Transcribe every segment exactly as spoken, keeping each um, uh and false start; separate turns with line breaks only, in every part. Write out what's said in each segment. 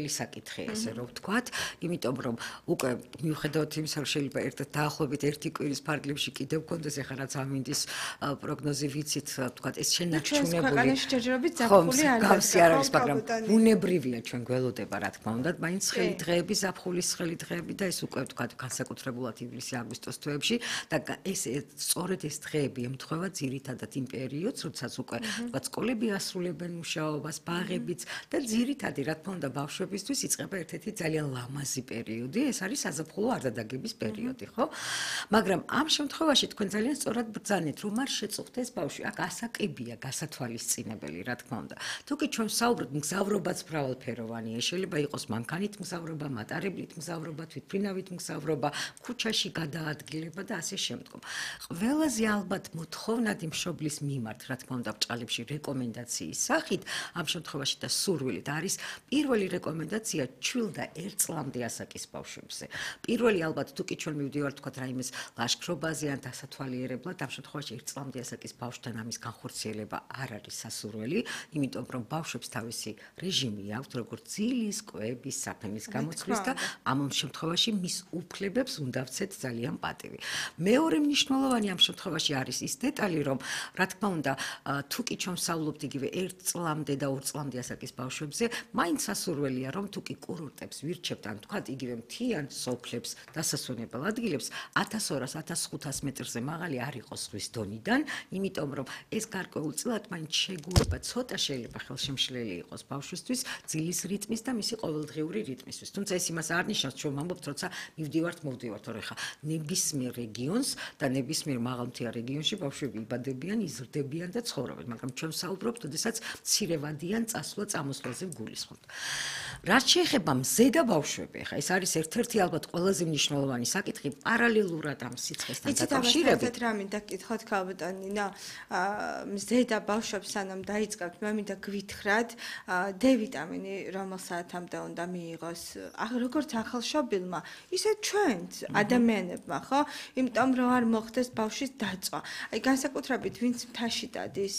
ცხელი საკითხია ესე რომ ვთქვათ, იმიტომ რომ უკვე მიუხედავად იმისა, რომ შეიძლება ერთად დაახლოებით ერთი კვირის ფარგლებში კიდევ გქონდეს ეხლა რაც ამინდის პროგნოზი ვიცით, ვთქვათ, ეს შენარჩუნებული
ქვეყანაში ჯერჯერობით ზაფხული არ
გავსი არ არის, მაგრამ ბუნებრივია ჩვენ გველოდება, რა თქმა უნდა, მაინც ცხელი დღეები, ზაფხულის ცხელი დღეები და ეს უკვე ვთქვათ, განსაკუთრებულად ივლისი-აგვისტოს თვეებში და ეს სწორედ ეს დღეები ემთხვევა ძირითადად იმ პერიოდს, როდესაც უკვე ვთქვათ, სკოლები ასრულებენ მუშაობას, ბაღებიც და ძირითადი, რა თქმა უნდა, ბავშვებისთვის იწყება ერთ-ერთი ძალიან ლამაზი პერიოდი, ეს არის საზაფხულო არდადეგების პერიოდი, ხო? მაგრამ ამ შემთხვევაში თქვენ ძალიან სწორად ბრძანეთ, რომ არ შეწუხდეს ბავშვი, აქ ასაკებია გასათვალისწინებელი, რა თქმა უნდა. თუ კი ჩვენ ვსაუბრობთ, მგზავრობაც მრავალფეროვანია, შეიძლება იყოს მანქანით მგზავრობა, მატარებლით მგზავრობა, თვითმფრინავით მგზავრობა, ქუჩაში გადაადგილება და ასე შემდგომ. ყველაზე ალბათ მოთხოვნადი მშობლის მიმართ, რა თქმა უნდა, ბრჭყალებში რეკომენდაციის სახით, ამ შემთხვევაში და სურვილით არის პირველი რეკომენდაცია ჩვილ და ერთ წლამდე ასაკის ბავშვებზე. პირველი ალბათ თუ კი ჩვენ მივდივართ თქვათ რაიმეს ლაშქრობაზე ან დასათვალიერებლად, ამ შემთხვევაში ერთ წლამდე ასაკის ბავშვთან ამის განხორციელება არ არის სასურველი, იმიტომ რომ ბავშვებს თავისი რეჟიმი აქვთ, როგორც ძილის, კვების, საფენის გამოცვლის და ამ შემთხვევაში მის უფლებებს უნდა ვცეთ ძალიან პატივი. მეორე მნიშვნელოვანი ამ შემთხვევაში არის ის დეტალი, რომ რა თქმა უნდა, თუ კი ჩვენ ვსაუბრობთ იგივე ერთ წლამდე და ორ წლამდე ასაკის ბავშვებზე, მაინც სასურველია, რომ თუ კი კურორტებს ვირჩევთ, ან თქვათ იგივე მთიან სოფლებს, დასასვენებელ ადგილებს ათას ორას ათას ხუთას მეტრზე მაღალი არ იყოს ზღვის დონიდან, იმიტომ რომ ეს გარკვეულწილად მაინც შეგუება ცოტა შეიძლება ხელშემშლელი იყოს ბავშვისთვის ძილის რიტმის და მისი ყოველდღიური რიტმისთვის. თუმცა ეს იმას არ ნიშნავს, ჩვენ ვამბობთ, როცა მივდივართ, მოვდივართ, რომ ეხლა ნებისმიერ რეგიონს და ნებისმიერ მაღალმთიან რეგიონში ბავშვები იბადებიან, იზრდებიან და ცხოვრობენ, მაგრამ ჩვენ ვსაუბრობთ, როდესაც მცირევადიან წასვლა-წამოსვლაზე ვგულისხმობთ. რაც შეეხება მზედა ბავშვები, ეხლა ეს არის ერთ-ერთი ალბათ ყველაზე მნიშვნელოვანი საკითხი პარალელურად ამ სიცხესთან დაკავშირებით.
იცით, რა მინდა გითხოთ ქალბატონი ნინა, მზედა ბავშვებს სანამ დაიწყებთ, მე მინდა გვითხრათ D ვიტამინი რომელ საათამდე უნდა მიიღოს, როგორც ახალშობილმა, ისე ჩვენც ადამიანებმა, ხო? იმიტომ რომ არ მოხდეს ბავშვის დაწვა. აი განსაკუთრებით ვინც მთაში დადის,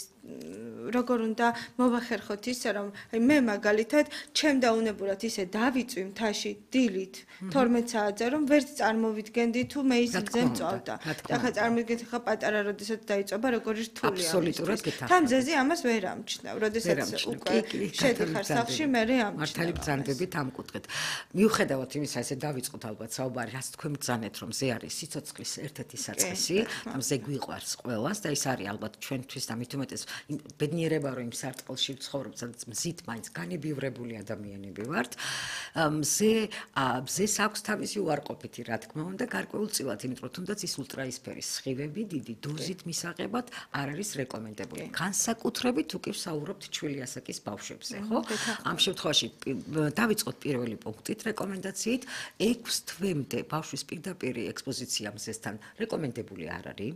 როგორ უნდა მოვახერხოთ ისე რომ აი მე მაგალითად ჩემ დაუნებურად ისე დავიწვი მთაში დილით თორმეტ საათზე რომ ვერც წარმოვიდგენდი თუ მე ის გზე მწვავდა. ახლა წარმოგიდგენთ ხა პატარა როდესაც დაიწובה როგორი რთულია.
აბსოლუტურად გეთახმებით.
თან ძეზე ამას ვერ ამჩნევ, როდესაც უკვე შედიხარ სახლში მე რე ამჩნევ.
მართალი ბრძანდებით ამ კუთხით. მიუხედავად იმისა, ესე დავიწყოთ ალბათ საუბარი, რაც თქვენ ბრძანეთ, რომ ზე არის სიცოცხლის ერთ-ერთი საწყისი, ამ ზე გვიყვარს ყველას და ის არის ალბათ ჩვენთვის და მით უმეტეს ბედნიერება რომ იმ სარტყელში ვცხოვრობ, სადაც მზით მაინც განებივრებული ადამიანები ვართ. მზე მზეს აქვს თავისი უარყოფითი, რა თქმა უნდა, გარკვეულწილად, იმიტომ რომ თუნდაც ის ულტრაისფერის სხივები დიდი დოზით მისაღებად არ არის რეკომენდებული. განსაკუთრებით თუ კი ვსაუბრობთ ჩვილი ასაკის ბავშვებზე, ხო? ამ შემთხვევაში დავიწყოთ პირველი პუნქტით რეკომენდაციით, ექვს თვემდე ბავშვის პირდაპირი ექსპოზიცია მზესთან რეკომენდებული არ არის.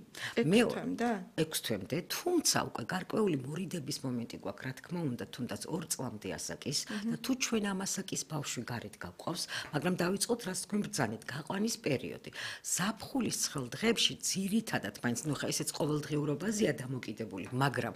ექვს თვემდე, თუმცა უკვე გარკვეული მორიდების მომენტი გვაქვს, რა თქმა უნდა, თუნდაც ორ წლამდე ასაკის და თუ ჩვენ ამ ასაკის ბავშვი გარეთ გავყავს, მაგრამ დავიწყოთ რაც თქვენ ბრძანეთ, გაყვანის პერიოდი. ზაფხულის ცხელ დღეებში ძირითადად, მაინც ნუ ხა ესეც ყოველდღიურობაზეა დამოკიდებული, მაგრამ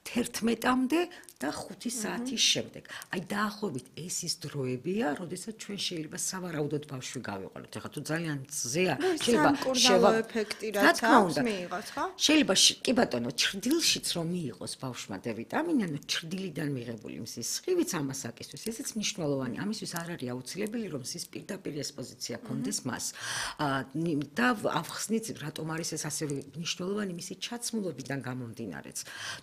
თერთმეტამდე და ხუთი საათის შემდეგ. აი დაახლოებით ეს ის დროებია, როდესაც ჩვენ შეიძლება სავარაუდოდ ბავშვი გავიყვანოთ. ეხლა თუ ძალიან მზეა,
შეიძლება შევა ეფექტი რაც აქვს მიიღოს, ხო?
შეიძლება კი ბატონო, ჩრდილშიც რომ მიიღოს ბავშვმა D ვიტამინი, ანუ ჩრდილიდან მიღებული მზის სხივიც ამ ასაკისთვის, ესეც მნიშვნელოვანი. ამისთვის არ არის აუცილებელი, რომ მზის პირდაპირ ექსპოზიცია კონდეს მას. და ავხსნით, რატომ არის ეს ასევე მნიშვნელოვანი მისი ჩაცმულობიდან გამომდინარეც.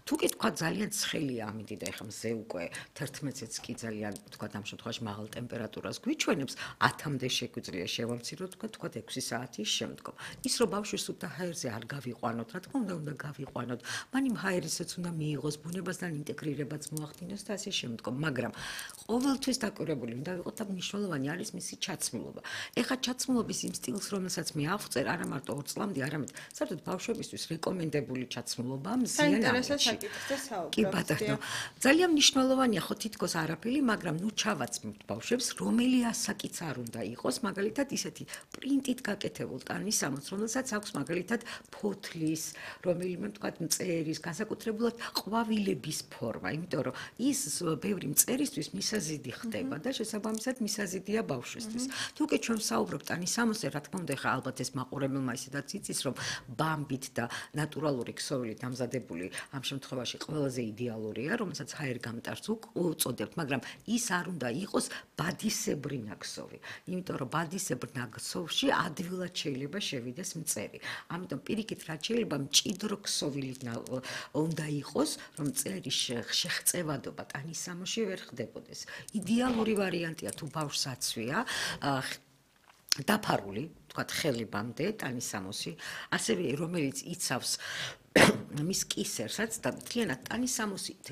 თუ კი თქვა ძალიან ცხელია ამინდი და ეხლა მზე უკვე თერთმეტიც კი ძალიან თქვა ამ შემთხვევაში მაღალ ტემპერატურას გვიჩვენებს, ათამდე შეგვიძლია შევამციროთ, თქვა თქვა ექვსი საათის შემდგომ. ის რომ ბავშვის სუფთა ჰაერზე არ გავიყვანოთ, რა თქმა უნდა, უნდა გავიყვანოთ. მან იმ ჰაერისაც უნდა მიიღოს, ბუნებასთან ინტეგრირებაც მოახდინოს და ასე შემდგომ, მაგრამ ყოველთვის დაკვირვებული უნდა ვიყოთ და მნიშვნელოვანი არის მისი ჩაცმულობა. ეხლა ჩაცმულობის იმ სტილს, რომელსაც მე ავწერ, არა მარტო ორ წლამდე, არამედ საერთოდ ბავშვებისთვის რეკომენდებული ჩაცმულობა მზიან ამბავში. კი ბატონო, ძალიან მნიშვნელოვანია ხო თითქოს არაფერი, მაგრამ ნუ ჩავაცმოთ ბავშვებს, რომელი ასაკიც არ უნდა იყოს, მაგალითად ისეთი პრინტით გაკეთებულ ტანის სამოც, რომელსაც აქვს მაგალითად ფოთლის, რომელიმე თქვა მწერის, განსაკუთრებულად ყვავილების ფორმა, იმიტომ რომ ის ბევრი მწერისთვის მისაზიდი ხდება და შესაბამისად შესაბამისად მისაზიდია ბავშვისთვის. თუ კი ჩვენ ვსაუბრობთ ანის სამოსზე, რა თქმა უნდა, ხა ალბათ ეს მაყურებელმა ისედაც იცის, რომ ბამბით და ნატურალური ქსოვილით დამზადებული ამ შემთხვევაში ყველაზე იდეალურია, რომელსაც ჰაერ გამტარს უწოდებთ, მაგრამ ის არ უნდა იყოს ბადისებრი ნაქსოვი. იმიტომ რომ ბადისებრ ნაქსოვში ადვილად შეიძლება შევიდეს მწერი. ამიტომ პირიქით რაც შეიძლება მჭიდრო ქსოვილი უნდა იყოს, რომ მწერის შეღწევადობა ტანის სამოში ვერ ხდებოდეს. იდეალური ვარიანტია თუ ბავშვს აცვია დაფარული, თქვათ ხელებამდე ტანის სამოსი, ასევე რომელიც იცავს მის კისერსაც და მთლიანად ტანის სამოსით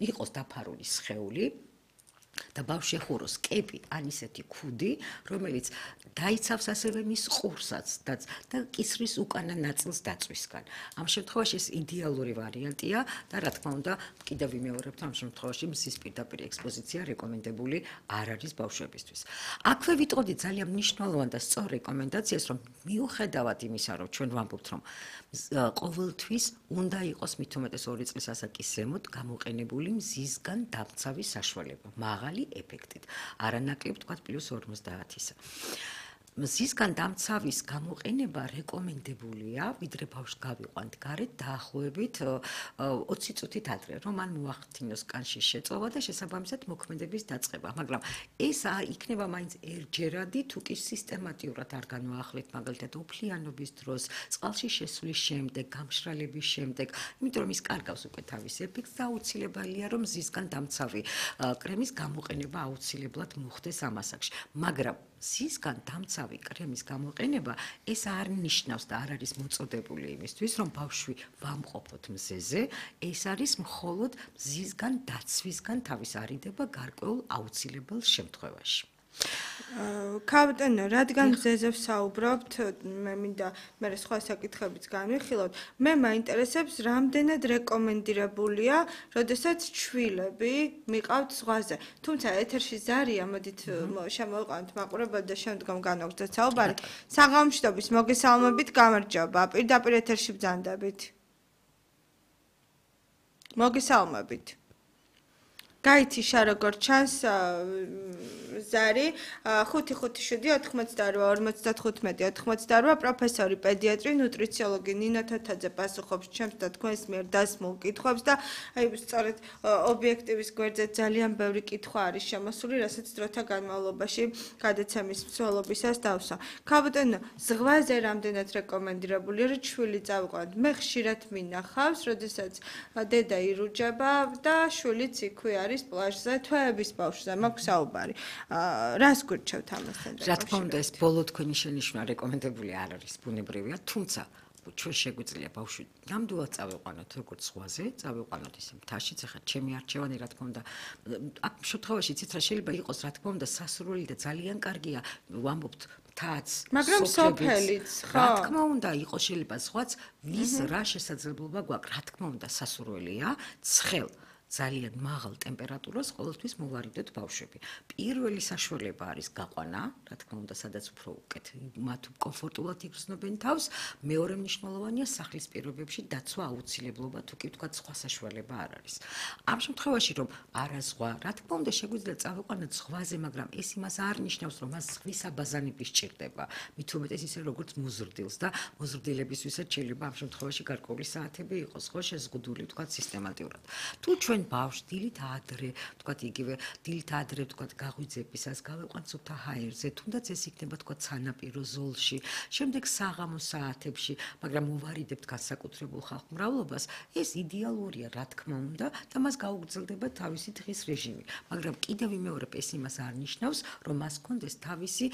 იყოს დაფარული სხეული და ბავშვი ეხუროს კეპი ან ისეთი ქუდი, რომელიც დაიცავს ასევე მის ყურსაც და კისრის უკანა ნაწილს დაწვისგან. ამ შემთხვევაში ეს იდეალური ვარიანტია და რა თქმა უნდა, კიდევ ვიმეორებთ, ამ შემთხვევაში მზის პირდაპირ ექსპოზიცია რეკომენდებული არ არის ბავშვებისთვის. აქვე ვიტყოდი ძალიან მნიშვნელოვან და სწორ რეკომენდაციას, რომ მიუხედავად იმისა, რომ ჩვენ ვამბობთ, რომ ყოველთვის უნდა იყოს მით უმეტეს ორი წლის ასაკის ზემოთ გამოყენებული მზისგან დამცავის საშუალება. მაღალი ეფექტით. არანაკლებ თქვათ პლუს ორმოცდაათისა. მზისგან დამცავის გამოყენება რეკომენდებულია, ვიდრე ბავშვს გავიყვანთ გარეთ დაახლოებით ოცი წუთით ადრე, რომ მან მოახდინოს კანშის შეწოვა და შესაბამისად მოქმედების დაწყება. მაგრამ ეს იქნება მაინც ერთჯერადი, თუ კი სისტემატიურად არ განვაახლეთ, მაგალითად, უფლიანობის დროს, წყალში შესვლის შემდეგ, გამშრალების შემდეგ, იმიტომ რომ ის კარგავს უკვე თავის ეფექტს და აუცილებელია, რომ მზისგან დამცავი კრემის გამოყენება აუცილებლად მოხდეს ამ ასაკში. მაგრამ მზისგან დამცავი კრემის გამოყენება ეს არ ნიშნავს და არ არის მოწოდებული იმისთვის, რომ ბავშვი ვამყოფოთ მზეზე, ეს არის მხოლოდ მზისგან დაცვისგან თავის არიდება გარკვეულ აუცილებელ შემთხვევაში.
კაპიტანო, რადგან მზეზე ვსაუბრობთ, მე მინდა მე სხვა საკითხებიც განვიხილოთ. მე მაინტერესებს, რამდენად რეკომენდირებულია, როდესაც ჩვილები მიყავთ ზღვაზე. თუმცა ეთერში ზარია, მოდით შემოვიყვანოთ მაყურებელს და შემდგომ განვაგრძელოთ საუბარი. საღამოშტობის მოგესალმებით, გამარჯობა. პირდაპირ ეთერში ბრძანდებით. მოგესალმებით. გაითიშა როგორც ჩანს ზარი ხუთი ხუთი შვიდი ოთხმოცდაორვა ორმოცდათხუთმეტი ოთხმოცდაორვა პროფესორი პედიატრი ნუტრიციოლოგი ნინო თათაძე პასუხობს ჩემს და თქვენს მიერ დასმულ კითხვებს და აი სწორედ ობიექტივის გვერდზე ძალიან ბევრი კითხვა არის შემოსული, რასაც დროთა განმავლობაში გადაცემის მსვლელობისას დავსვა. კაპიტანო, ზღვაზე რამდენად რეკომენდირებულია, რომ ჩვილი წავიყვანოთ? მე ხშირად მინახავს, როდესაც დედა ირუჯება და შვილიც იქვე არის პლაჟზე, თვეების ბავშვზე მაქვს საუბარი. რას გვირჩევთ ამასთან?
რა თქმა უნდა, ეს ბოლო თქვენი შენიშვნა რეკომენდებული არ არის, ბუნებრივია, თუმცა ჩვენ შეგვიძლია ბავშვი ნამდვილად წავიყვანოთ როგორც ზღვაზე, წავიყვანოთ ისე მთაშიც, ახლა ჩემი არჩევანი რა თქმა უნდა, აქ შემთხვევაში იცით რა შეიძლება იყოს, რა თქმა უნდა, სასურველი და ძალიან კარგია, ვამბობთ მთაც,
მაგრამ სოფელიც, ხო?
რა თქმა უნდა, იყოს შეიძლება ზღვაც, ვის რა შესაძლებლობა გვაქვს, რა თქმა უნდა, სასურველია, ცხელ ძალიან მაღალ ტემპერატურას ყოველთვის მოვარიდოთ ბავშვები. პირველი საშუალება არის გაყვანა, რა თქმა უნდა, სადაც უფრო უკეთ მათ კომფორტულად იგრძნობენ თავს. მეორე მნიშვნელოვანია სახლის პირობებში დაცვა აუცილებლობა, თუ კი ვთქვათ, სხვა საშუალება არ არის. ამ შემთხვევაში, რომ არა ზღვა, რა თქმა უნდა, შეგვიძლია წავიყვანოთ ზღვაზე, მაგრამ ეს იმას არ ნიშნავს, რომ მას ზღვის აბაზანები სჭირდება. მით უმეტეს ისე როგორც მოზრდილს და მოზრდილებისთვისაც შეიძლება ამ შემთხვევაში გარკვეული საათები იყოს, ხო, შეზღუდული, ვთქვათ, სისტემატურად. თუ ჩვენ ბავშვს დილით ადრე, ვთქვათ, იგივე დილით ადრე, ვთქვათ, გაღვიძებისას გავიყვანთ სუფთა ჰაერზე, თუნდაც ეს იქნება, ვთქვათ, სანაპირო ზოლში, შემდეგ საღამოს საათებში, მაგრამ მოვარიდებთ განსაკუთრებულ ხალხმრავლობას, ეს იდეალურია, რა თქმა უნდა, და მას გაუგრძელდება თავისი დღის რეჟიმი. მაგრამ კიდევ ვიმეორებ, ეს იმას არ ნიშნავს, რომ მას ჰქონდეს თავისი,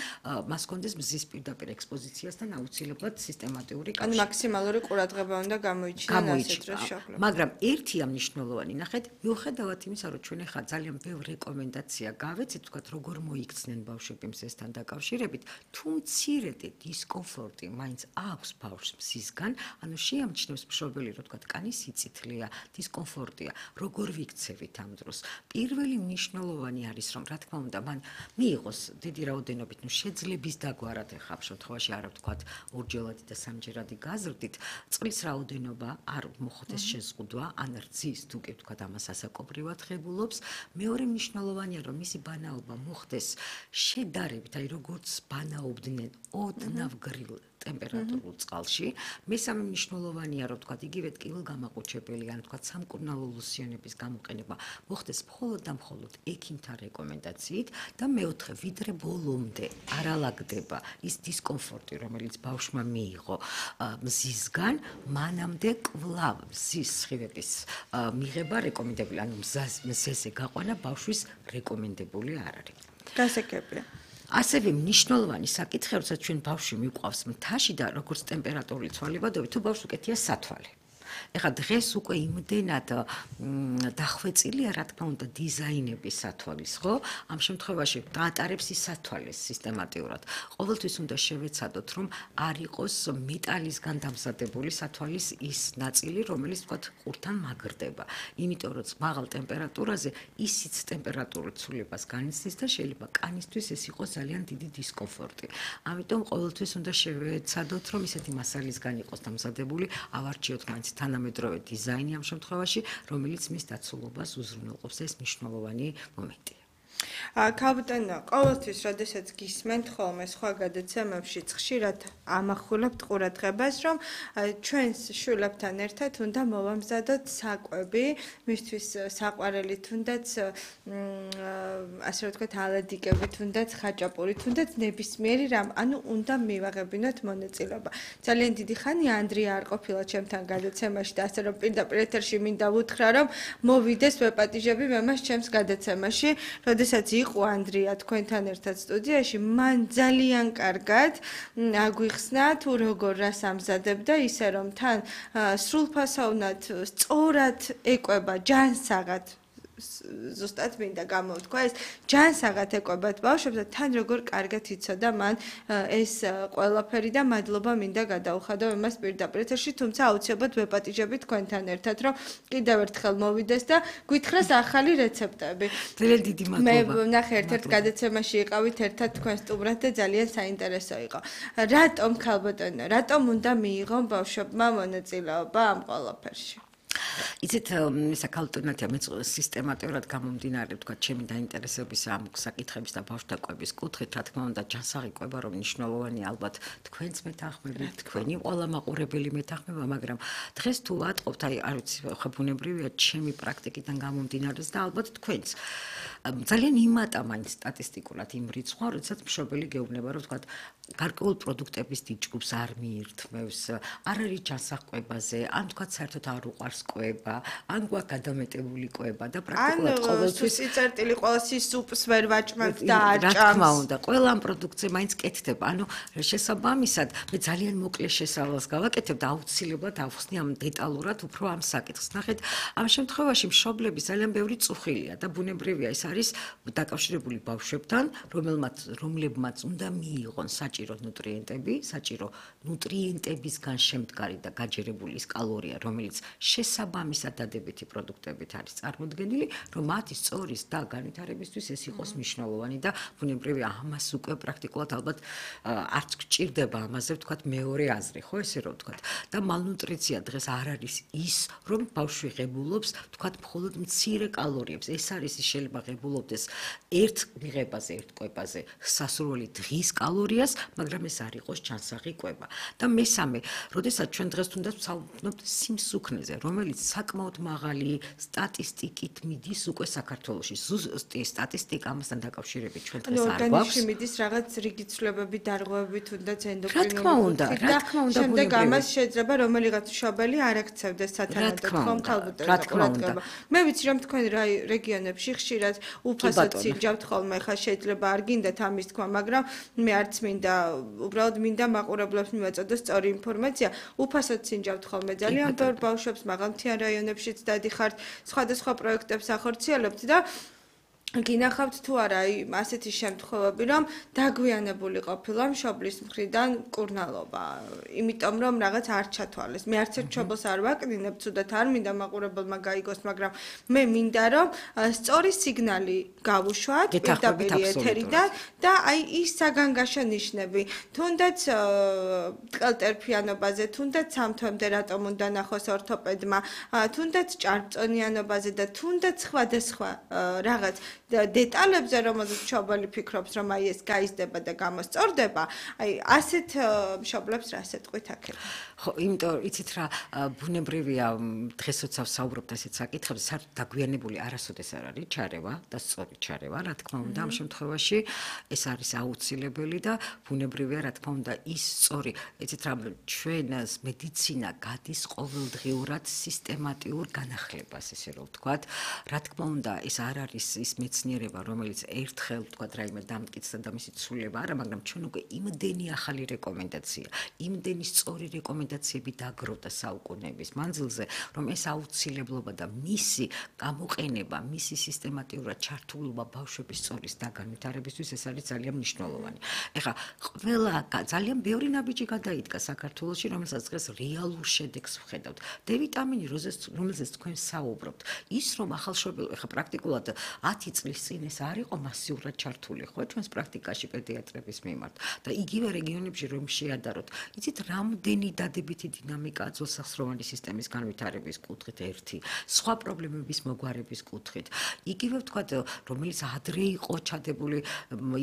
მას ჰქონდეს მზის პირდაპირ ექსპოზიციასთან აუცილებლად სისტემატიური
კავშირი. ანუ მაქსიმალური ყურადღება უნდა გამოიჩინოს ასეთ დროს შეხლა.
მაგრამ ერთია მნიშვნელოვანი, ნახეთ, მიუხედავად იმისა, რომ ჩვენ ახლა ძალიან ბევრი რეკომენდაცია გავეცეთ, ვთქვათ, როგორ მოიქცნენ ბავშვები მზესთან დაკავშირებით, თუ მცირედი დისკომფორტი მაინც აქვს ბავშვს მზისგან, ანუ შეამჩნევს მშობელი, რომ ვთქვათ, კანის სიწითლეა, დისკომფორტია, როგორ ვიქცევით ამ დროს. პირველი მნიშვნელოვანი არის, რომ რა თქმა უნდა, მან მიიღოს დიდი რაოდენობით, ნუ შეძლების დაგვარად ახლა ამ შემთხვევაში არა ვთქვათ, ორჯერადი და სამჯერადი გაზრდით, წყლის რაოდენობა არ მოხდეს შეზღუდვა, ან რძის, თუ კი ვთქვათ, ამას გასაკობრივად ღებულობს. მეორე მნიშვნელოვანია, რომ მისი ბანაობა მოხდეს შედარებით, აი როგორც ბანაობდნენ ოდნავ გრილ ტემპერატურულ წყალში. მესამე მნიშვნელოვანია, რომ თქვა იგივე ტკივილგამაყუჩებელი, ან თქვა სამკურნალო ლოსიონების გამოყენება მოხდეს მხოლოდ და მხოლოდ ექიმთა რეკომენდაციით და მეოთხე, ვიდრე ბოლომდე არ ალაგდება ის დისკომფორტი, რომელიც ბავშვმა მიიღო მზისგან, მანამდე კვლავ მზის სხივების მიღება რეკომენდებული, ანუ მზეზე გაყვანა ბავშვის რეკომენდებული არ არის.
გასაგებია.
ასევე მნიშვნელოვანი საკითხია, როცა ჩვენ ბავშვი მიყვავს მთაში და როგორც ტემპერატურული ცვალებადობით, თუ ბავშვს უკეთია სათვალე. ეხლა დღეს უკვე იმდენად დახვეწილია, რა თქმა უნდა, დიზაინების სათვალის, ხო? ამ შემთხვევაში დაატარებს ის სათვალეს სისტემატიურად. ყოველთვის უნდა შევეცადოთ, რომ არ იყოს მეტალისგან დამზადებული სათვალის ის ნაწილი, რომელიც თქვა ყურთან მაგრდება. იმიტომ რომ მაღალ ტემპერატურაზე ისიც ტემპერატურულ ცვლილებას განიცდის და შეიძლება კანისთვის ეს იყოს ძალიან დიდი დისკომფორტი. ამიტომ ყოველთვის უნდა შევეცადოთ, რომ ისეთი მასალისგან იყოს დამზადებული, ავარჩიოთ მაინც თანამედროვე დიზაინი ამ შემთხვევაში, რომელიც მის დაცულობას უზრუნველყოფს, ეს მნიშვნელოვანი მომენტია.
ქალბატონო, ყოველთვის, როდესაც გისმენთ ხოლმე სხვა გადაცემებში, ხშირად ამახვილებთ ყურადღებას, რომ ჩვენს შვილებთან ერთად უნდა მოვამზადოთ საკვები, მისთვის საყვარელი თუნდაც ასე რომ ვთქვათ, ალადიკები, თუნდაც ხაჭაპური, თუნდაც ნებისმიერი რამ, ანუ უნდა მივაღებინოთ მონაწილეობა. ძალიან დიდი ხანია ანდრია არ ყოფილა ჩემთან გადაცემაში და ასე რომ პირდაპირ ეთერში მინდა ვუთხრა, რომ მოვიდეს ვეპატიჟები მე მას ჩემს გადაცემაში, როდესაც იყო ანდრია თქვენთან ერთად სტუდიაში, მან ძალიან კარგად აგვიხსნა თუ როგორ რას ამზადებდა, ისე რომ თან სრულფასოვნად სწორად ეკვება ჯანსაღად ზუსტად მინდა გამოვთქვა ეს ჯანსაღად ეკვებათ ბავშვებს და თან როგორ კარგად იცოდა მან ეს ყველაფერი და მადლობა მინდა გადაუხადო იმას პირდაპირ ეთერში, თუმცა აუცილებლად ვეპატიჟები თქვენთან ერთად, რომ კიდევ ერთხელ მოვიდეს და გვითხრას ახალი რეცეპტები.
ძალიან დიდი მადლობა.
მე ნახე ერთ-ერთ გადაცემაში იყავით ერთად თქვენ სტუმრად და ძალიან საინტერესო იყო. რატომ ქალბატონო, რატომ უნდა მიიღონ ბავშვებმა მონაწილეობა ამ ყველაფერში?
იცით, საკალტონათია მე სისტემატურად გამომდინარე, თქვა, ჩემი დაინტერესების ამ საკითხების და ბავშვთა კვების კუთხით, რა თქმა უნდა, ჯანსაღი კვება რომ მნიშვნელოვანი ალბათ თქვენც მეთანხმებით, თქვენი ყველა მაყურებელი მეთანხმება, მაგრამ დღეს თუ ვატყობთ, აი, არ ვიცი, ხო ბუნებრივია ჩემი პრაქტიკიდან გამომდინარეს და ალბათ თქვენც. ძალიან იმატა მაინც სტატისტიკურად იმ რიცხვმა, როდესაც მშობელი გეუბნება, რომ თქვა, გარკვეულ პროდუქტების დიჯგუფს არ მიირთმევს, არ არის ჯანსაღ კვებაზე, ან თქვა, საერთოდ არ უყვარს კვება, ან გვაქვს გადამეტებული კვება და პრაქტიკულად ყოველთვის
სიწერტილი ყოველთვის სუპს ვერ ვაჭმევთ და
რა თქმა უნდა, ყველა ამ პროდუქტზე მაინც კეთდება. ანუ შესაბამისად, მე ძალიან მოკლე შესავალს გავაკეთებ და აუცილებლად ავხსნი ამ დეტალურად უფრო ამ საკითხს. ნახეთ, ამ შემთხვევაში მშობლები ძალიან ბევრი წუხილია და ბუნებრივია ეს არის დაკავშირებული ბავშვებთან, რომელმაც რომლებმაც უნდა მიიღონ საჭირო ნუტრიენტები, საჭირო ნუტრიენტებისგან შემდგარი და გაჯერებული ის კალორია, რომელიც შესაბამისად დადებითი პროდუქტებით არის წარმოდგენილი, რომ მათი სწორის და განვითარებისთვის ეს იყოს მნიშვნელოვანი და ბუნებრივია ამას უკვე პრაქტიკულად ალბათ არც გჭირდება ამაზე ვთქვათ მეორე აზრი, ხო ესე რომ ვთქვათ. და მალნუტრიცია დღეს არ არის ის, რომ ბავშვი ღებულობს, ვთქვათ, მხოლოდ მცირე კალორიებს. ეს არის ის შეიძლება ღებულობდეს ერთ მიღებაზე, ერთ კვებაზე სასურველი დღის კალორიას, მაგრამ ეს არ იყოს ჯანსაღი კვება. და მესამე, როდესაც ჩვენ დღეს თუნდაც ვცალკევთ სიმსუქნეზე, რომელიც საკმაოდ მაღალი სტატისტიკით მიდის უკვე საქართველოში. ზუსტი სტატისტიკა ამასთან დაკავშირებით ჩვენ დღეს არ გვაქვს.
ორგანიზმში მიდის რაღაც რიგი ცვლილებები, დარღვევები, თუნდაც ენდოკრინული.
რა თქმა უნდა, რა თქმა უნდა,
შემდეგ ამას შეიძლება რომელიღაც მშობელი არ აქცევდეს სათანადოდ ხომ ქალბატონო ყურადღება. მე ვიცი რომ თქვენ რეგიონებში ხშირად უფასოდ სინჯავთ ხოლმე, ხა შეიძლება არ გინდათ ამის თქვა, მაგრამ მე არც მინდა, უბრალოდ მინდა მაყურებლებს მივაწოდოს სწორი ინფორმაცია. უფასოდ სინჯავთ ხოლმე ძალიან ბევრ ბავშვებს მაღალმთიან რაიონებშიც დადიხართ, სხვადასხვა პროექტებს ახორციელებთ და გინახავთ თუ არა აი ასეთი შემთხვევები რომ დაგვიანებული ყოფილა მშობლის მხრიდან მკურნალობა იმიტომ რომ რაღაც არ ჩათვალეს მე არც ერთ მშობელს არ ვაკნინებ თუდად არ მინდა მაყურებელმა გაიგოს მაგრამ მე მინდა რომ სწორი სიგნალი გავუშვათ პირდაპირ ეთერიდან და აი ის საგანგაშო ნიშნები თუნდაც ტყელტერფიანობაზე თუნდაც სამთვემდე რატომ უნდა ნახოს ორთოპედმა თუნდაც ჭარბწონიანობაზე და თუნდაც სხვადასხვა რაღაც დეტალებზე რომელზეც მშობელი ფიქრობს რომ აი ეს გაიზრდება და გამოსწორდება აი ასეთ მშობლებს რა სეტყვით აქეთ
ხო იმიტომ იცით რა ბუნებრივია დღესაც ვსაუბრობთ ასეთ საკითხებზე საერთოდ დაგვიანებული არასოდეს არ არის ჩარევა და სწორი ჩარევა რა თქმა უნდა ამ შემთხვევაში ეს არის აუცილებელი და ბუნებრივია რა თქმა უნდა ის სწორი იცით რა ჩვენს მედიცინა გადის ყოველდღიურად სისტემატიურ განახლებას ესე რომ ვთქვათ რა თქმა უნდა ეს არ არის ის მეცნიერება რომელიც ერთხელ ვთქვათ რაიმე დამტკიცდა და მისი ცვლილება არა მაგრამ ჩვენ უკვე იმდენი ახალი რეკომენდაცია იმდენი სწორი რეკომენდაციები დაგროვდა საუკუნეების მანძილზე რომ ეს აუცილებლობა და მისი გამოყენება მისი სისტემატიურად ჩართულობა ბავშვების სწორის დაგანვითარებისთვის ეს არის ძალიან მნიშვნელოვანი ეხლა ყველა ძალიან ბევრი ნაბიჯი გადაიდგა საქართველოში რომელსაც დღეს რეალურ შედეგს ვხედავთ დ ვიტამინი რომელზეც თქვენ საუბრობთ ის რომ ახალშობილ ეხლა პრაქტიკულად ათი წლის წინ ეს არ იყო მასიურად ჩართული ხო ჩვენს პრაქტიკაში პედიატრების მიმართ და იგივე რეგიონებში რომ შეადაროთ იცით რამდენი დადებითი დინამიკაა ძველსახსროვანი სისტემის განვითარების კუთხით ერთი სხვა პრობლემების მოგვარების კუთხით იგივე ვთქვათ რომელიც ადრე იყო ჩადებული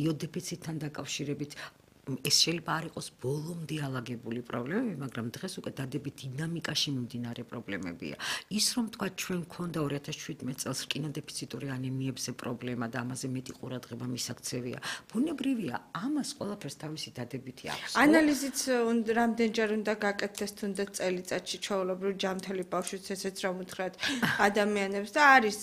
იოდეფიციტთან დაკავშირებით ეს შეიძლება არ იყოს ბოლომდე ალაგებული პრობლემები, მაგრამ დღეს უკვე დადებით დინამიკაში მიმდინარე პრობლემებია. ის რომ თქვა ჩვენ მქონდა ორი ათას შვიდმეტ წელს რკინოდეფიციტური ანემიებზე პრობლემა და ამაზე მეტი ყურადღება მისაქცევია. ბუნებრივია, ამას ყველაფერს თავისი დადებითი აქვს.
ანალიზიც რამდენჯერ უნდა გაკეთდეს თუნდაც წელიწადში ჩვეულებრივ ჯამთელი ბავშვის ესეც რომ უთხრათ ადამიანებს და არის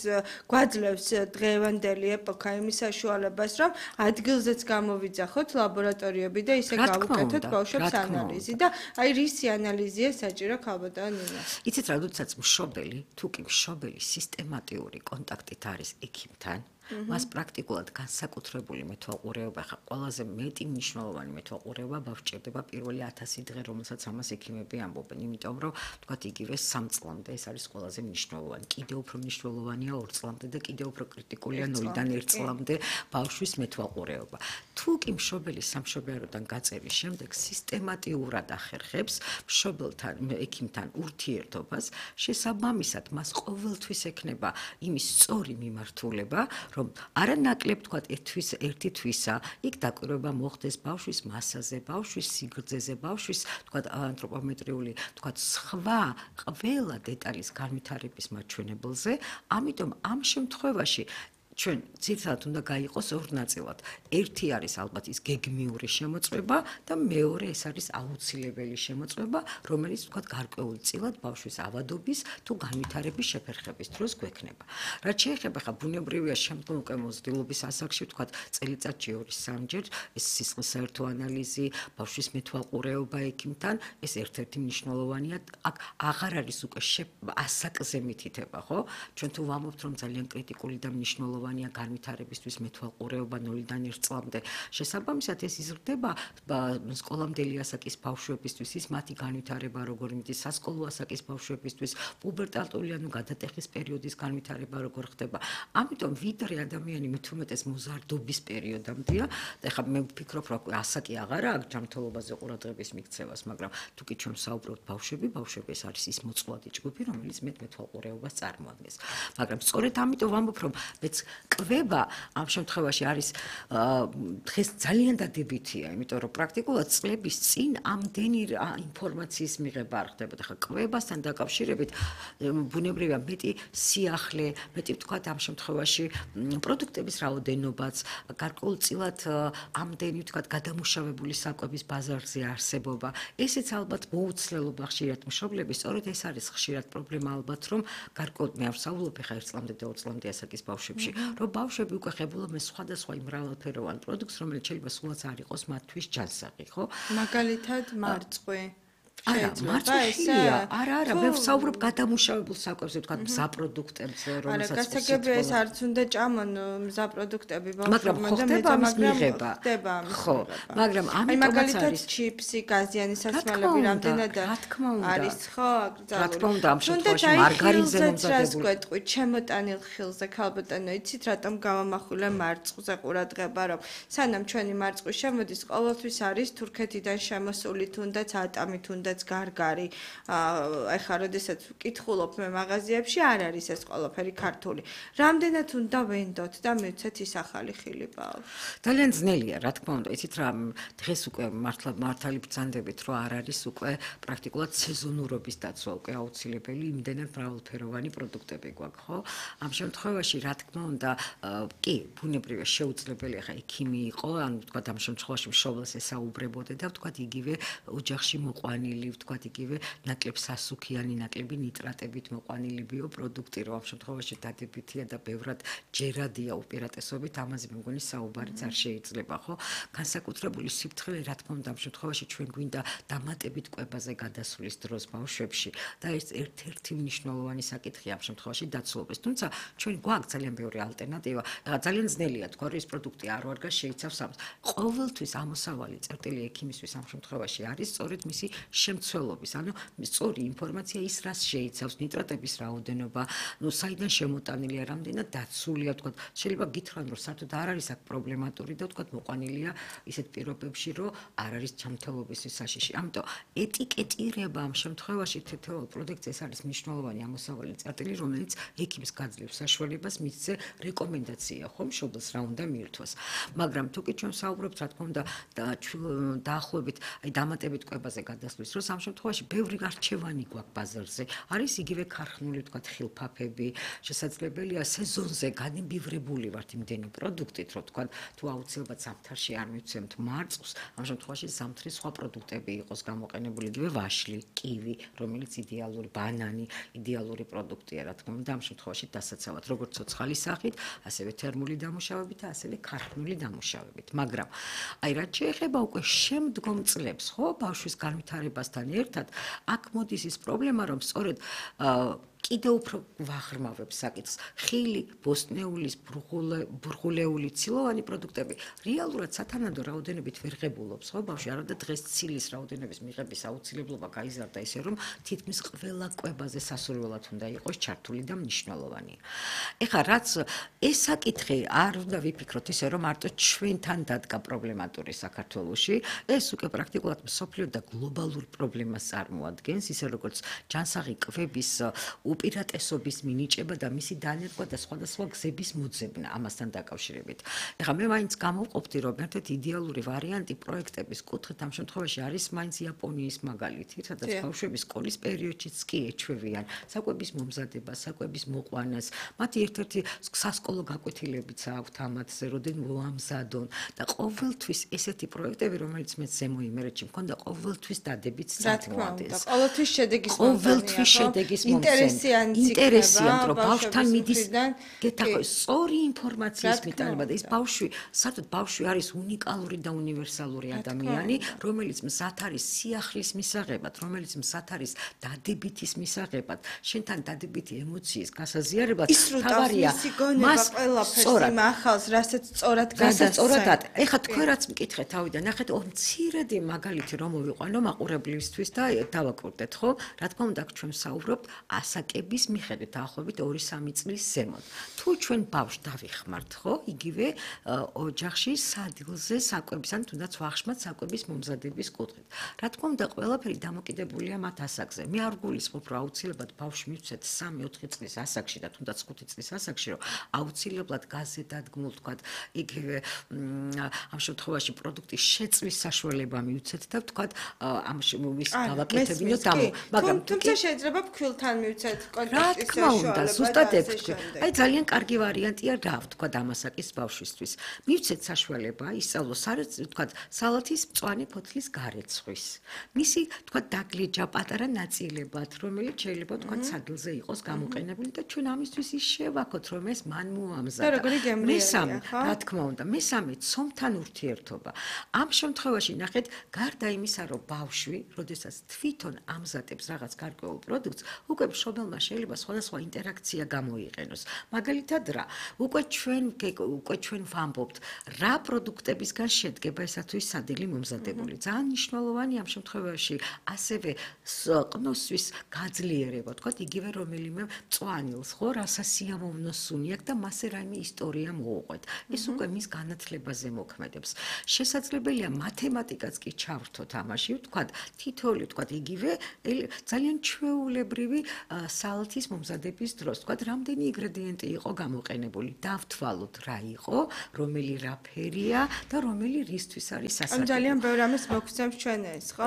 გვაძლევს დღევანდელი ეპოქა იმის საშუალებას რომ ადგილზეც გამოვიძახოთ ლაბორატორიებში და ისე გავუკეთოთ ბავშვებს ანალიზი და აი რისი ანალიზია საჭირო ქალბატონ ნინა.
იცით რა, როდესაც მშობელი, თუ კი მშობელი სისტემატიური კონტაქტით არის ექიმთან, მას პრაქტიკულად განსაკუთრებული მეთვალყურეობა, ხა ყველაზე მეტი მნიშვნელოვანი მეთვალყურეობა ბავშვჭირდება პირველი ათასი დღე, რომელსაც ამას ექიმები ამბობენ, იმიტომ რომ თქვათ იგივე სამ წლამდე ეს არის ყველაზე მნიშვნელოვანი. კიდევ უფრო მნიშვნელოვანია ორ წლამდე და კიდევ უფრო კრიტიკულია ნულიდან ერთ წლამდე ბავშვის მეთვალყურეობა. თუ კი მშობელი სამშობიაროდან გაწერის შემდეგ სისტემატიურად ახერხებს მშობელთან, ექიმთან ურთიერთობას, შესაბამისად მას ყოველთვის ექნება იმის სწორი მიმართულება, რომ არანაკლებ თქვათ ერთვის ერთი თვისა, იქ დაკვირვება მოხდეს ბავშვის მასაზე, ბავშვის სიგრძეზე, ბავშვის თქვათ ანთროპომეტრიული, თქვათ სხვა ყველა დეტალის განვითარების მაჩვენებელზე, ამიტომ ამ შემთხვევაში ჩვენ ძირითადად უნდა გაიყოს ორ ნაწილად. ერთი არის ალბათ ის გეგმიური შემოწმება და მეორე ეს არის აუცილებელი შემოწმება, რომელიც თქვათ გარკვეულწილად ბავშვის ავადობის თუ განვითარების შეფერხების დროს გვექნება. რაც შეეხება ხა ბუნებრივია შემდგომ უკვე მოზრდილობის ასაკში თქვათ წელიწადში ორი სამჯერ ეს სისხლის საერთო ანალიზი, ბავშვის მეთვალყურეობა ექიმთან, ეს ერთ-ერთი მნიშვნელოვანია. აქ აღარ არის უკვე ასაკზე მითითება, ხო? ჩვენ თუ ვამბობთ რომ ძალიან კრიტიკული და მნიშვნელოვანი განვითარებისთვის მეთვალყურეობა ნულიდან ერთ წლამდე. შესაბამისად ეს იზრდება სკოლამდელი ასაკის ბავშვებისთვის, ის მათი განვითარება როგორ მიდის, სასკოლო ასაკის ბავშვებისთვის, პუბერტალური ანუ გადატეხის პერიოდის განვითარება როგორ ხდება. ამიტომ ვიდრე ადამიანი მით უმეტეს მოზარდობის პერიოდამდეა, და ეხლა მე ვფიქრობ, რომ ასაკი აღარა აქვს ჯანმრთელობაზე ყურადღების მიქცევას, მაგრამ თუ კი ჩვენ საუბრობთ ბავშვები, ბავშვები ეს არის ის მოწყვლადი ჯგუფი, რომელიც მეტ მეთვალყურეობას წარმოადგენს. მაგრამ სწორედ ამიტომ ვამბობ, რომ მეც კვება ამ შემთხვევაში არის დღეს ძალიან დადებითია, იმიტომ რომ პრაქტიკულად წლების წინ ამდენი ინფორმაციის მიღება არ ხდებოდა. ხა კვებასთან დაკავშირებით ბუნებრივია მეტი სიახლე, მეტი ვთქვათ ამ შემთხვევაში პროდუქტების რაოდენობაც, გარკვეულწილად ამდენი ვთქვათ გადამუშავებული საკვების ბაზარზე არსებობა. ესეც ალბათ მოუცლელობა ხშირად მშობლების, სწორედ ეს არის ხშირად პრობლემა ალბათ, რომ გარკვეულ მე არ ვსაუბრობ ხა ერთ წლამდე და ორ წლამდე ასაკის ბავშვებში, რომ ბავშვები უკვე ხებულობენ სხვადასხვა იმ მრავალფეროვან პროდუქტს, რომელიც შეიძლება სულაც არ იყოს მათთვის ჯანსაღი, ხო?
მაგალითად მარწყვი.
არა, მარცხილია. არა, არა, მე ვსაუბრობ გადამუშავებულ საკვებზე, თქვა მზა პროდუქტებზე, რომელსაც
არა, გასაგებია ეს არც უნდა ჭამონ მზა პროდუქტები ბავშვებმა და
მე მაგრამ
ხდება ამის
ხო, მაგრამ ამიტომაც არის
ჩიპსი, გაზიანი სასმელები რამდენად არის, ხო,
რა თქმა უნდა, ამ შემთხვევაში მარგარინზე მომზადებული.
გეტყვით, ჩემოტანილ ხილზე, ქალბატონო, იცით რატომ გავამახვილე მარწყვზე ყურადღება, რომ სანამ ჩვენი მარწყვის შემოდის, ყოველთვის არის თურქეთიდან შემოსული თუნდაც ატამი, თუნდაც გარგარი. ეხლა როდესაც ვკითხულობ მე მაღაზიებში, არ არის ეს ყველაფერი ქართული. რამდენად უნდა ვენდოთ და მივცეთ ის ახალი ხილი ბავშვ.
ძალიან ძნელია, რა თქმა უნდა, იცით რა, დღეს უკვე მართლა მართალი ბრძანდებით, რომ არ არის უკვე პრაქტიკულად სეზონურობის დაცვა უკვე აუცილებელი, იმდენად მრავალფეროვანი პროდუქტები გვაქვს, ხო? ამ შემთხვევაში, რა თქმა უნდა, კი, ბუნებრივია შეუძლებელია ხა ექიმი იყო, ანუ თქვა ამ შემთხვევაში მშობელს ესაუბრებოდა და თქვა იგივე ოჯახში მოყვანილი, თქვა იგივე ნაკლებ სასუქიანი, ნაკლები ნიტრატებით მოყვანილი ბიოპროდუქტი, რომ ამ შემთხვევაში დადებითია და ბევრად ჯერადია უპირატესობით, ამაზე მე მგონი საუბარიც არ შეიძლება, ხო? განსაკუთრებული სიფრთხილე, რა თქმა უნდა, ამ შემთხვევაში ჩვენ გვინდა დამატებით კვებაზე გადასვლის დროს ბავშვებში და ეს ერთ-ერთი მნიშვნელოვანი საკითხია ამ შემთხვევაში დაცულობის. თუმცა ჩვენ გვაქვს ძალიან ბევრი ალტერნატივა. ძალიან ძნელია თქვა, რომ ეს პროდუქტი არ ვარგა შეიცავს ამას. ყოველთვის ამოსავალი წერტილი ექიმისთვის ამ შემთხვევაში არის სწორედ მისი შემცველობის, ანუ სწორი ინფორმაცია ის რას შეიცავს, ნიტრატების რაოდენობა, ნუ საიდან შემოტანილია, რამდენად დაცულია, თქვა, შეიძლება გითხრან, რომ საერთოდ არ არის აქ პრობლემატური და თქვა მოყვანილია ისეთ პირობებში, რომ არ არის ჯანმრთელობის საშიში. ამიტომ ეტიკეტირება ამ შემთხვევაში თითოეულ პროდუქტზე ეს არის მნიშვნელოვანი ამოსავალი წერტილი, რომელიც ექიმს გაძლევს საშუალებას მისცე რეკომენდაცია, ხო, მშობელს რა უნდა მიირთვას. მაგრამ თუ კი ჩვენ საუბრობთ, რა თქმა უნდა, დაახლოებით, აი დამატებით კვებაზე გადასვლის დროს ამ შემთხვევაში ბევრი არჩევანი გვაქვს ბაზარზე. არის იგივე ქარხნული, თქვა, ხილფაფები, შესაძლებელია სეზონზე განიბივრებული ვართ იმდენი პროდუქტით, რომ თქვა, თუ აუცილებლად ზამთარში არ მივცემთ მარწყვს, ამ შემთხვევაში ზამთრის სხვა პროდუქტები იყოს გამოყენებული, იგივე ვაშლი, კივი, რომელიც იდეალური ბანანი, იდეალური პროდუქტია, რა თქმა უნდა, ამ შემთხვევაში დასაცავად, როგორც ცოცხალის სახით, ასევე თერმული დამუშავებით და ასევე ქარხნული დამუშავებით. მაგრამ აი რაც შეეხება უკვე შემდგომ წლებს, ხო, ბავშვის განვითარებასთან ერთად, აქ მოდის ის პრობლემა, რომ სწორედ კიდევ უფრო ვაღრმავებს საკითხს. ხილი, ბოსტნეულის, ბრღულეული, ცილოვანი პროდუქტები რეალურად სათანადო რაოდენობით ვერ ღებულობს, ხო, ბავშვი, არა და დღეს ცილის რაოდენობის მიღების აუცილებლობა გაიზარდა ისე, რომ თითქმის ყველა კვებაზე სასურველად უნდა იყოს ჩართული და მნიშვნელოვანი. ეხლა რაც ეს საკითხი არ უნდა ვიფიქროთ ისე, რომ მარტო ჩვენთან დადგა პრობლემატური საქართველოში, ეს უკვე პრაქტიკულად მსოფლიო და გლობალურ პრობლემას წარმოადგენს, ისე როგორც ჯანსაღი კვების უპირატესობის მინიჭება და მისი დანერგვა და სხვადასხვა გზების მოძებნა ამასთან დაკავშირებით. ეხლა მე მაინც გამოვყოფდი, რომ ერთ-ერთი იდეალური ვარიანტი პროექტების კუთხით ამ შემთხვევაში არის მაინც იაპონიის მაგალითი, სადაც ბავშვები სკოლის პერიოდშიც კი ეჩვევიან საკვების მომზადებას, საკვების მოყვანას, მათი ერთ-ერთი სასკოლო გაკვეთილებიც აქვთ ამათზე, როდენ მოამზადონ და ყოველთვის ესეთი პროექტები, რომელიც მე ზემო იმერეთში მქონდა, ყოველთვის დადებით
წარმოადგენს. ყოველთვის შედეგის
მომცემი. ყოველთვის შედეგის მომცემი. ინტერესიანტ, რომ ბავშვთან მიდის გეთახო სწორი ინფორმაციის მიტანება და ეს ბავშვი, საერთოდ ბავშვი არის უნიკალური და უნივერსალური ადამიანი, რომელიც მზად არის სიახლის მისაღებად, რომელიც მზად არის დადებითის მისაღებად, შენთან დადებითი ემოციის გასაზიარებად,
თავარია მას ყველაფერს იმახავს, რასაც სწორად
გასაწორად. ეხლა თქვენ რაც მკითხეთ თავიდან, ნახეთ, ო მცირედი მაგალითი რომ მოვიყვანო მაყურებლისთვის და დავაკვირდეთ, ხო? რა თქმა უნდა, ჩვენ საუბრობთ ასაკების მიხედვით, დაახლოებით ორი სამი წლის ზემოთ. თუ ჩვენ ბავშვს დავიხმართ, ხო, იგივე ოჯახში სადილზე საკვების, ან თუნდაც ვახშმად საკვების მომზადების კუთხით. რა თქმა უნდა, ყველაფერი დამოკიდებულია მათ ასაკზე. მე არ გულისხმობ, რომ აუცილებლად ბავშვს მივცეთ სამი ოთხი წლის ასაკში და თუნდაც ხუთი წლის ასაკში, რომ აუცილებლად გაზზე დადგმულ, თქვა, იგივე ამ შემთხვევაში პროდუქტის შეწვის საშუალება მივცეთ და თქვა, ამ შემოვის გავაკეთებინოთ ამ,
მაგრამ თუმცა შეიძლება ფქვილთან მივცეთ ზუსტად
რა
კონტექსტის
თქმა უნდა,
საშუალება
ზუსტად
და
ეგ
ასე
თქვი.
შემდეგ.
აი ძალიან კარგი ვარიანტია რა ვთქვა დამასაკის ბავშვისთვის. მივცეთ საშუალება ისწავლოს სარეთ ვთქვა სალათის მწვანე ფოთლის გარეცხვის. მისი ვთქვა დაგლეჯა პატარა ნაწილებად, რომელიც შეიძლება ვთქვა საგილზე იყოს გამოყენებული და ჩვენ ამისთვის ის შევაქოთ, რომ ეს მან მოამზადა.
და როგორი გემრიელია,
მესამე,
ხო?
რა თქმა უნდა, მესამე ცომთან ურთიერთობა. ამ შემთხვევაში ნახეთ, გარდა იმისა, რომ ბავშვი, როდესაც თვითონ ამზადებს რაღაც გარკვეულ პროდუქტს, უკვე მშობელმა შეიძლება სხვადასხვა ინტერაქცია გამოიყენოს. მაგალითად რა, უკვე ჩვენ უკვე ჩვენ ვამბობთ, რა პროდუქტებისგან შედგება ესა თუ ის სადილი მომზადებული. ძალიან მნიშვნელოვანი ამ შემთხვევაში ასევე ყნოსვის გაძლიერება, თქვათ იგივე რომელიმე მწვანილს, ხო, რასაც სიამოვნო სუნი აქვს და მასე რაიმე ისტორია მოუყვეთ. ეს უკვე მის განათლებაზე მოქმედებს. შესაძლებელია მათემატიკაც კი ჩავრთოთ ამაში, ვთქვათ, თითოეული ვთქვათ იგივე ძალიან ჩვეულებრივი სალათის მომზადების დროს, ვთქვათ, რამდენი ინგრედიენტი იყო გამოყენებული, დავთვალოთ რა იყო, რომელი რა ფერია და რომელი რისთვის არის სასარგებლო.
ან ძალიან ბევრ ამას მოგცემს ჩვენ ეს, ხო?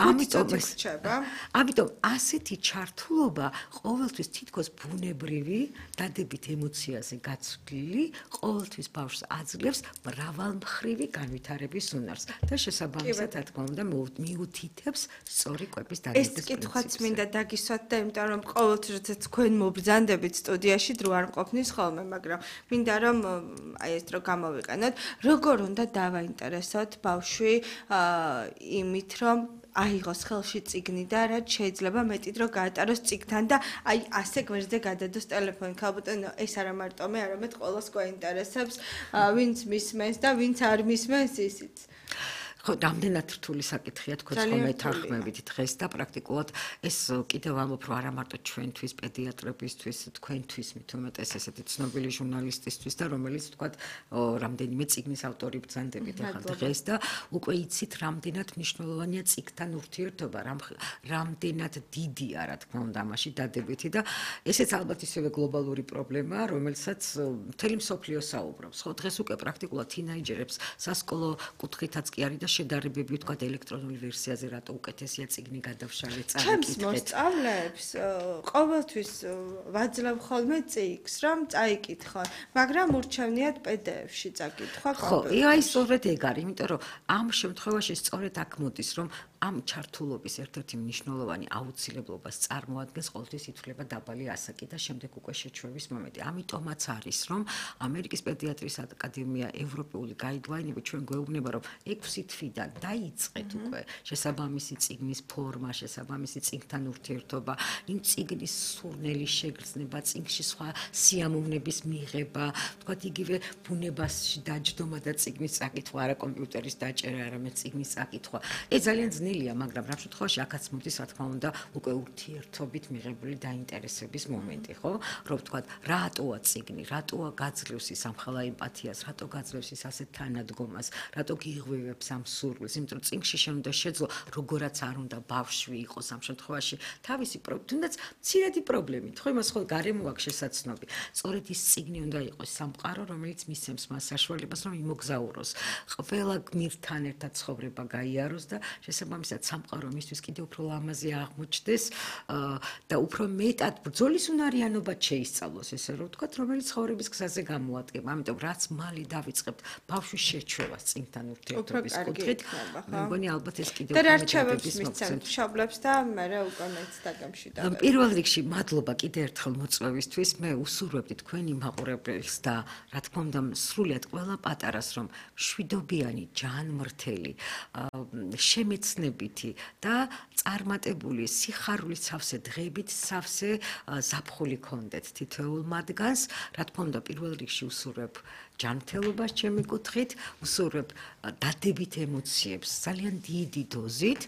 ამიტომ ეს
რჩება.
ამიტომ ასეთი ჩართულობა ყოველთვის თითქოს ბუნებრივი, დადებით ემოციაზე გაცვლილი, ყოველთვის ბავშვს აძლევს მრავალმხრივი განვითარების უნარს და შესაბამისად, რა თქმა უნდა, მიუთითებს სწორი კვების დადების
პრინციპს. ეს კითხვაც მინდა დაგისვათ და იმიტომ რომ ყოველთვის როდესაც თქვენ მობრძანდებით სტუდიაში დრო არ მყოფნის ხოლმე, მაგრამ მინდა რომ აი ეს დრო გამოვიყენოთ, როგორ უნდა დავაინტერესოთ ბავშვი იმით, რომ აიღოს ხელში წიგნი და რაც შეიძლება მეტი დრო გაატაროს წიგნთან და აი ასე გვერდზე გადადოს ტელეფონი. ქალბატონო, ეს არა მარტო მე, არამედ ყოველს გვაინტერესებს, ვინც მისმენს და ვინც არ მისმენს ისიც.
ხო, რამდენად რთული საკითხია თქვენ ხომ ეთანხმებით დღეს და პრაქტიკულად ეს კიდევ ამბობ რომ არა მარტო ჩვენთვის, პედიატრებისთვის, თქვენთვის, მით უმეტეს ესეთი ცნობილი ჟურნალისტისთვის და რომელიც თქვათ რამდენიმე წიგნის ავტორი ბრძანდებით ახლა დღეს და უკვე იცით რამდენად მნიშვნელოვანია წიგნთან ურთიერთობა, რამდენად დიდია რა თქმა უნდა ამაში დადებითი და ესეც ალბათ ისევე გლობალური პრობლემაა, რომელსაც მთელი მსოფლიო საუბრობს. ხო, დღეს უკვე პრაქტიკულად თინეიჯერებს სასკოლო კუთხითაც კი არის და შედარებები ვთქვათ ელექტრონულ ვერსიაზე რატო უკეთესია წიგნი გადავშალე წარეკითხეთ.
ჩემს მოსწავლეებს ყოველთვის ვაძლევ ხოლმე წიგნს, რომ წაიკითხონ, მაგრამ ურჩევნიათ პი დი ეფ-ში წაკითხვა კომპიუტერში.
ხო, აი სწორედ ეგ არის, იმიტომ რომ ამ შემთხვევაში სწორედ აქ მოდის, რომ ამ ჩართულობის ერთ-ერთი მნიშვნელოვანი აუცილებლობას წარმოადგენს ყოველთვის ითვლება დაბალი ასაკი და შემდეგ უკვე შეჩვევის მომენტი. ამიტომაც არის, რომ ამერიკის პედიატრიის აკადემია ევროპული გაიდლაინები ჩვენ გვეუბნება, რომ ექვსი თვიდან დაიწყეთ უკვე შესაბამისი წიგნის ფორმა, შესაბამისი წიგნთან ურთიერთობა, იმ წიგნის სურნელის შეგრძნება, წიგნში სხვა სიამოვნების მიღება, თქვათ იგივე ბუნებაში დაჯდომა და წიგნის წაკითხვა, არა კომპიუტერის დაჭერა, არამედ წიგნის წაკითხვა. ეს ძალიან ძნელია, მაგრამ რა შემთხვევაში აქაც მოდის, რა თქმა უნდა, უკვე ურთიერთობით მიღებული დაინტერესების მომენტი, ხო? რომ ვთქვათ, რატოა წიგნი, რატოა გაძლევს ის ამხელა ემპათიას, რატო გაძლევს ის ასეთ თანადგომას, რატო გიღვივებს ამ სურვილს, იმიტომ რომ წიგნში შენ უნდა შეძლო, როგორაც არ უნდა ბავშვი იყოს ამ შემთხვევაში, თავისი თუნდაც მცირედი პრობლემით, ხო, იმას ხო გარემო აქვს შესაცნობი. სწორედ ის წიგნი უნდა იყოს სამყარო, რომელიც მისცემს მას საშუალებას, რომ იმოგზაუროს. ყველა გმირთან ერთად ცხოვრება გაიაროს და შესაბამისად სამყარო მისთვის კიდევ უფრო ლამაზი აღმოჩნდეს და უფრო მეტად ბრძოლის უნარიანობად შეისწავლოს, ესე რომ ვთქვათ, რომელიც ცხოვრების გზაზე გამოადგება. ამიტომ რაც მალე დავიწყებთ ბავშვის შეჩვევას წიგნთან ურთიერთობის კუთხით, მე მგონი ალბათ ეს კიდევ
და რა რჩევებს მისცემთ მშობლებს და მე უკვე მეც დაგემშვიდობ.
პირველ რიგში მადლობა კიდევ ერთხელ მოწვევისთვის. მე უსურვებდი თქვენი მაყურებელს და რა თქმა უნდა სრულიად ყველა პატარას, რომ მშვიდობიანი, ჯანმრთელი, შემეცნებითი და წარმატებული სიხარულით სავსე დღეებით სავსე ზაფხული გქონდეთ თითოეულ მათგანს. რა თქმა უნდა პირველ რიგში უსურვებ ჯანმრთელობას ჩემი კუთხით, უსურვებ დადებით ემოციებს ძალიან დიდი დოზით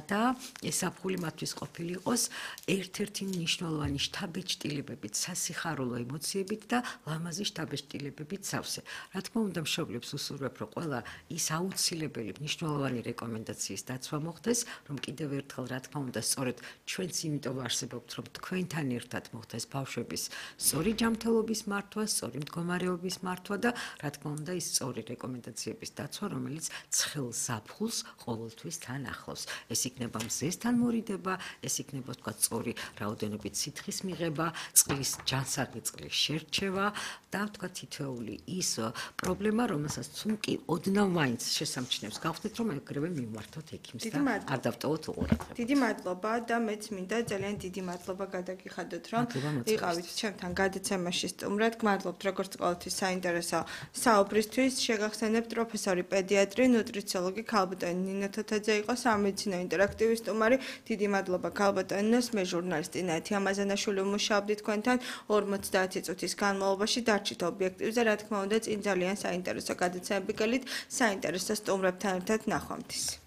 და ეს ზაფხული მათთვის ყოფილიყოს ერთ-ერთი მნიშვნელოვანი შთაბეჭდილებებით, სასიხარულო ემოციებით და ლამაზი შთაბეჭდილებებით სავსე. რა თქმა უნდა მშობლებს უსურვებ, რომ ყველა ის აუცილებელი მნიშვნელოვანი რეკომენდაციის დაცვა მოხდეს, რომ კიდევ ერთხელ რა თქმა უნდა სწორედ ჩვენც იმიტომ არსებობთ, რომ თქვენთან ერთად მოხდეს ბავშვების სწორი ჯანმრთელობის მართვა, სწორი მდგომარეობის მართვა და რა თქმა უნდა ის სწორი რეკომენდაციების დაცვა, რომელიც ცხელ ზაფხულს ყოველთვის თან ახლავს. ეს იქნება მზესთან მორიდება, ეს იქნება თქვა სწორი რაოდენობით სითხის მიღება, წყლის ჯანსაღი წყლის შერჩევა და თქვა თითოეული ის პრობლემა, რომელსაც თუნკი ოდნავ მაინც შესამჩნევს გავხდეთ, რომ ეგრევე მიმართოთ ექიმს და არ დავტოვოთ უყურადღება.
დიდი მადლობა და მეც მინდა ძალიან დიდი მადლობა გადაგიხადოთ, რომ იყავით ჩემთან გადაცემაში სტუმრად. გმადლობთ როგორც ყოველთვის საინტერესო საუბრისთვის. შეგახსენებთ პროფესორი პედიატრი, ნუტრიციოლოგი ქალბატონი ნინო თოთაძე იყო სამედიცინო ინტერაქტივის სტუმარი. დიდი მადლობა ქალბატონინოს, მე ჟურნალისტი ნათი ამაზანაშვილი ვმუშაობდი თქვენთან ორმოცდაათი წუთის განმავლობაში. დარჩით ობიექტივზე, რა თქმა უნდა, წინ ძალიან საინტერესო გადაცემები გელით, საინტერესო სტუმრებთან ერთად ნახვამდის.